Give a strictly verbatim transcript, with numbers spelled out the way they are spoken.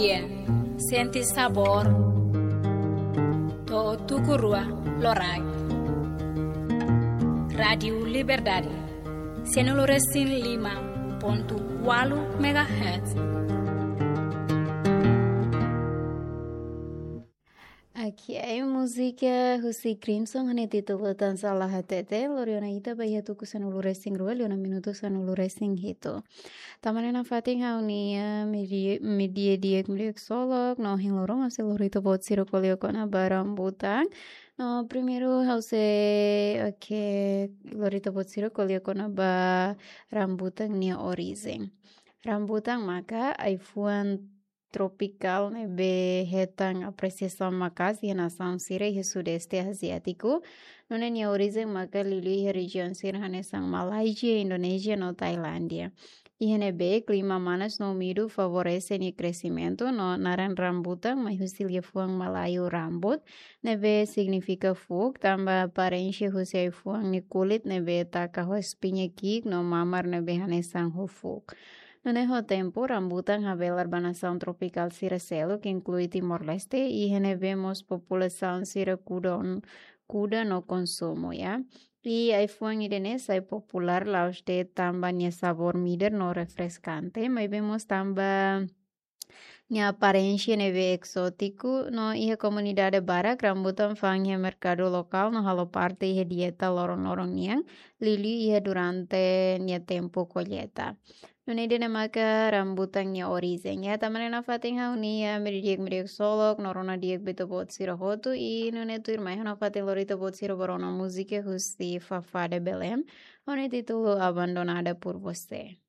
Sente sabór. To'o tuku rua loraik. Rádiu Liberdade. Sianulu resin lima pontu ualu megahertz. Oke, múzika husi Crimson ho nia títulu Tan Sala Hatete, lori ona ita ba iha tuku sanulu resin rua, liu ona minutu sanulu resin hitu. Tanba ne'e nafatin ha'u-nia media, media di'ak, media ksolok, no ohin loron ha'u sei lori ita-boot sira ko'alia kona-ba rambutan. No primeiru ha'u sei, oke, lori ita-boot sira ko'alia kona-ba rambutan nia orijen. Rambutan maka ai-fuan tropikál ne'ebé hetan apresiasaun maka'as iha nasaun sira iha Sudeste Aziátiku. Nune'e nia orijen maka liuliu iha rejiaun sira hanesan Malázia, Indonézia no Tailándia. Iha ne'ebé klima manas no úmidu favorese nia kresimentu, no naran rambutan mai husi liafuan Malayu rambut, ne'ebé signifika fuuk, tanba aparénsia husi ai-fuan nia kulit ne'ebé taka ho espiña ki'ik no mamar ne'ebé hanesan ho fuuk. Nune'e ho tempu, rambutan habelar ba nasaun tropikál sira seluk, inklui Timor-Leste, iha ne'ebé mós populasaun sira kuda, kuda no konsumu, ya. I ai-fuan ida-ne'e sai populár la'ós de'it tanba nia sabór midar no refreskante, maibé mós tanba nia aparénsia ne'ebé ezótiku, no iha komunidade barak rambutan fa'an iha merkadu lokál no halo parte iha dieta loron-loron nian, liuliu iha durante nia tempu kolleita. Nune'e ida-ne'e maka rambutan nia orijen. Ya, tanba ne'e nafatin ha'u-nia media di'ak, media ksolok, no rona di'ak ba ita-boot sira hotu, i nune'e tuirmai ha'u nafatin lori ita-boot sira ba rona múzika husi Fafá de Belém, ho nia títulu Abandonada por Você.